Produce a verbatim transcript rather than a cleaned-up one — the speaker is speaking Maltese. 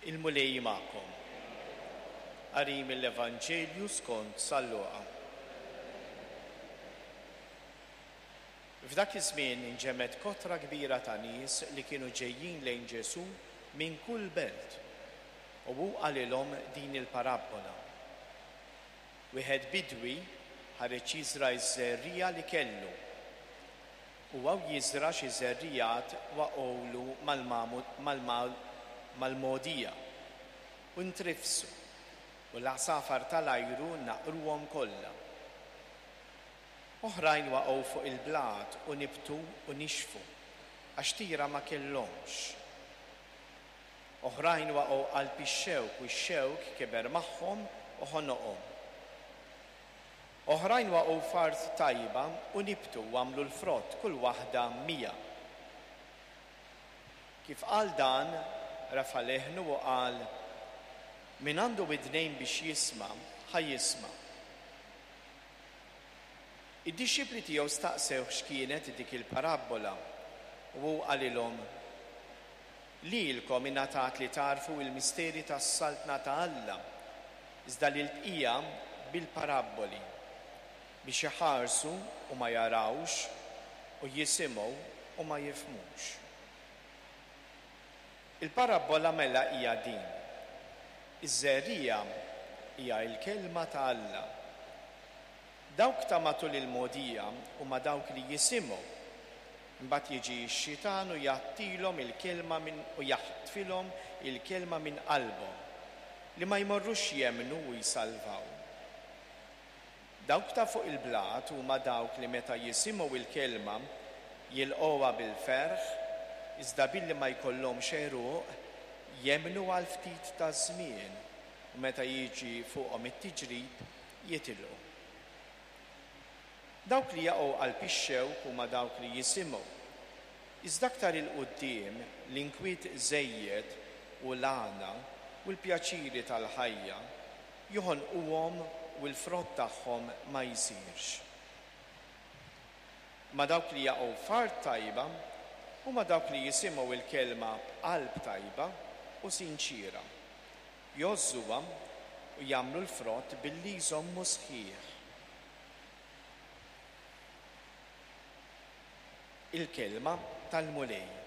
Il-Mulej magħkom. Qari mill-Evanġelju skont San Luqa. F'dak iż-żmien inġemgħet kotra kbira ta' nies li kienu ġejjin lejn Ġesù minn kull belt, u hu qalilhom din il-parabbola. Wieħed bidwi ħareġ jiżra' ż-żerriegħa li kellu. Huwa u jiżra' xi żerriegħat waqgħulu mal-mogħdija u ntrifsu, u l-għasafar tal-ajru naqruhom kollha. Oħrajn waqgħu fuq il-blat u nibtu u nixfu, għax tira ma kellhomx. Oħrajn waqgħu qalb ix-xewk u x-xewk kiber magħhom u ħonoqhom. Oħrajn waqgħu f'art tajba u nibtu u għamlu l-frott kull waħda mija. Kif qal dan, rafa' leħnu u qal, Min għandu widnejn biex jisma', ħa jisma'. Id-dixxipli tiegħu staqsewh x'kienet dik il-parabbola, u hu qalilhom, Lilkom ingħatat li tagħrfu l-misteri tas-saltna ta' Alla, iżda lill-bqija bil-parabboli, biex iħarsu u ma jarawx, u jisimgħu u ma jifhmux. Il-parabbola mela hija din. Iż-żerriegħa hija l-kelma ta' Alla. Dawk ta' matul il-mogħdija huma dawk li jisimgħu. Imbagħad jiġi x-xitan u jgħattilhom il-kelma minn u jaħtfilhom il-kelma minn qalbhom, li ma jmorrux jemmnu u jsalvaw. Dawk ta' fuq il-blat huma dawk li meta jisimgħu l-kelma jilqgħuha bil-ferħ, iżda billi ma jkollhomx għeruq, jemmnu għal ftit ta' żmien, u meta jiġi fuqhom it-tiġrib jitilqu. Dawk li jaqgħu qalb ix-xewk huma dawk li jisimgħu, iżda aktar 'il quddiem l-inkwiet żejjed u l-għana u l-pjaċiri tal-ħajja joħonquhom u l-frott tagħhom ma jsirx. Imma dawk li jaqgħu f'art tajba huma dawk li jisimgħu l-kelma b'qalb tajba u sinċiera, jgħożżuha u jagħmlu l-frott billi jżommu sħiħ. Il-kelma tal-Mulej.